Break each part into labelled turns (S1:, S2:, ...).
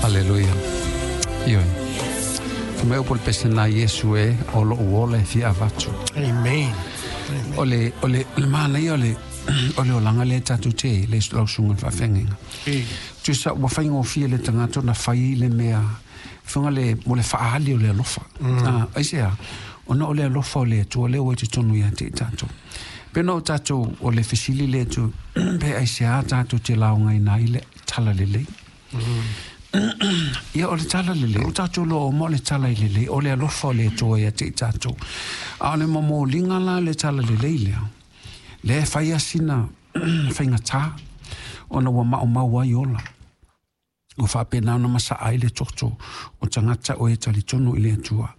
S1: Aleluia. Ioe. Fai mai upu o le pese na Iesu e, o lou ola e fia avatu.
S2: Amen.
S1: O le, o le, o le manaia o le, o le olaga lea tatou te i ai, le lau susuga i le faafeagaiga. Tusa ua faigofie le tagata ona fai le mea, faiga le, mo le faaali o le alofa. Mm. Aisea? Ona o le alofa o le Atua lea ua i totonu ia te i tatou. Pe na o tatou, o le fesili lea tu, pe aisea tatou te laugaina ai le talalelei. Ia, o le tala lelei, o tatou loa uma o le tala i lelei, o le alofa o le Atua ia te i tatou. A o le momoliga la le tala lelei lea, lea e fai a sina faigata, ona ua maumau ai ola. Ua faapena ona masaa ai le toto o tagata o e talitonu i le Atua.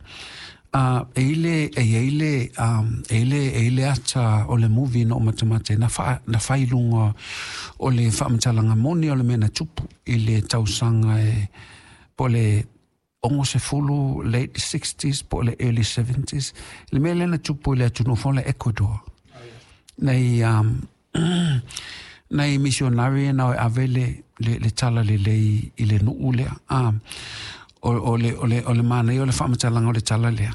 S1: E i le, e i ai le, e i le, e i le ata o le movie na ou matamata ai, na wha, na whai lunga o le whaamatalaga moni o le mea na tupu i le tausaga e, po o le 60, late 60s po o le early 70s. Le mea lea na tupu i le atunuu foi o le Ecuador. Nei, nai misionari na o e ave le, le, le tala lelei i le nuu lea. O, o le, o le, o le manaia o le faamatalaga o le tala lea.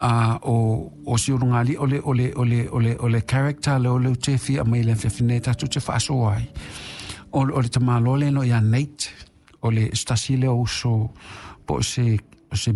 S1: O, o si ulugali, o le, o le, o le, o le, o le character le o le te fia mai le afiafi nei tatou te faasoa ai. O, o le tamaloa lea no ia Nate, o le se tasi lea o uso po o se, o se